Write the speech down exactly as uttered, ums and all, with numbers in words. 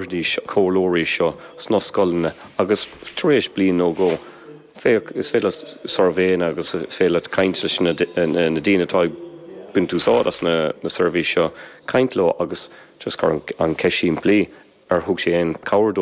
Dís comhairleoirí seo sna scoileanna agus tar éis bliain nó dhó. Féach is féidir suirbhéanna agus féidir caint leis na daoine atá ag baint úsáid as na na seirbhísí seo caint leo agus just cur an ceist simplí ar thug sé aon cabhair